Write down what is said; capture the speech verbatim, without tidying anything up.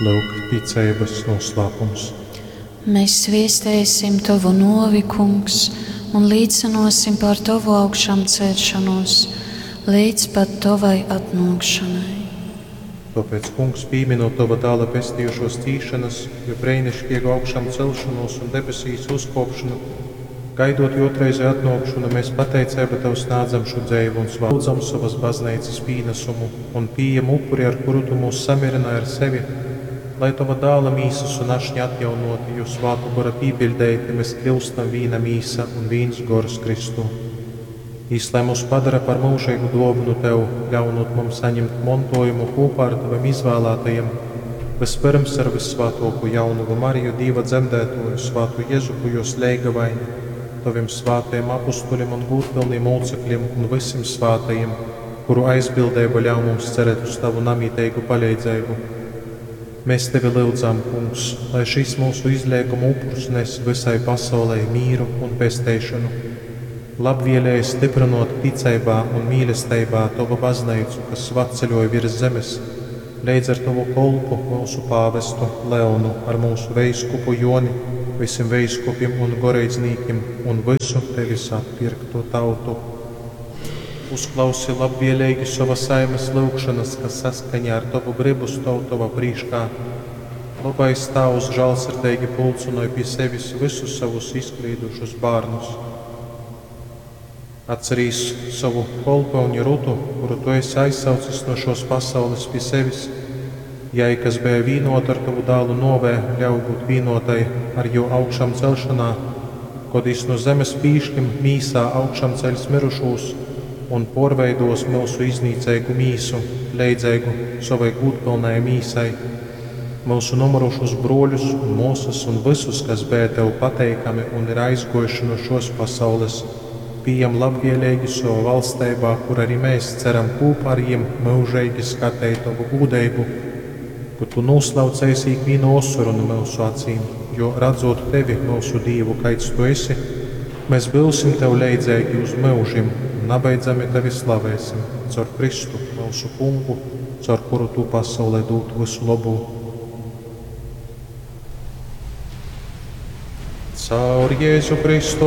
Lyuk, ticeibas noslēpums. Mēs viestēsim Tovu novi, Kungs, un līcinosim par Tovu augšām celšanos līdz pat Tovai atnākšanai. Tāpēc, Kungs, pieminot Tava dēla pestījušos cīšanas, jo breinišķīgu augšām celšanos un debesīs uzkopšanu, gaidot otrreizē atnākšanu, mēs pateicību Tev sniedzam šo dzēvu un lūdzam savas baznīcas pienesumu un pieejam upuri, ar kuru Tu mūs samierināji ar sevi, lai Tava dēla mīsas un ašņa atjaunoti, jo svātu gora pīpiļdeiti, mēs kļūstam vīna mīsa un vīns gors Kristū. Jis, lai mūs padara par mūžīgu dāvanu Tev, ļaunot mums saņemt montojumu kopā ar Taviem izvēlētajiem, vispirms ar Vissvētāko jaunavu Mariju, Dieva dzemdētoju, Svātu Jezupu, jos leigavaini, Taviem svētajiem apustuļiem un gūtpilniem mūcekļiem un visiem svētajiem, kuru aizbildība ļauj mums cerēt uz Tavu namītīgu palīdzību. Mēs Tevi lūdzam, Kungs, lai šis mūsu izlieguma upurs nes visai pasaulē mīru un pesteišanu. Labvēlīgi stiprinot ticībā un mīlestībā Tavu baznīcu, kas svatceļoja virs zemes, leidz ar Tavu kolpu, mūsu pāvestu Leonu, ar mūsu veiskupu Joni, visiem veiskupiem un goreidznīkiem un visu Tevis atpirkto tautu. Uzklausi labvēlīgi savas saimes lūgšanas, kas saskaņā ar Tavu gribu stāv Tava prīškā. Labais Tēvs žēlsirdīgi pulcinoja pie sevis visus savus izklīdušus bērnus. Atcerīs savu kolponi Rutu, kuru tu esi aizsaucis no šos pasaules pie sevis. Jai, kas bija vienota ar tavu dēlu novē, ļauj būt vienotai ar jo augšām celšanā, kod jis no zemes pīšļim mīsā augšām ceļs mirušūs un porveidos mūsu iznīceigu mīsu, leidzeigu savai gūtpilnai mīsai, mūsu nomurušus broļus un mūsas un visus, kas bija tev pateikami un ir aizgojuši no šos pasaules, pieejam labvēlīgi savā valstībā, kur arī mēs ceram kopā ar jiem mūžīgi skatīt tavu gūdību, kur tu noslaucēsi ikvienu osoru no mūsu acīm, jo redzot tevi, mūsu Dievu, kaids tu esi, mēs būsim tev leidzīgi uz mūžim un nabeidzami tevi slavēsim caur Kristu, mūsu kungu, caur kuru tu pasaulē dod visu labu. Caur Jēzu Kristu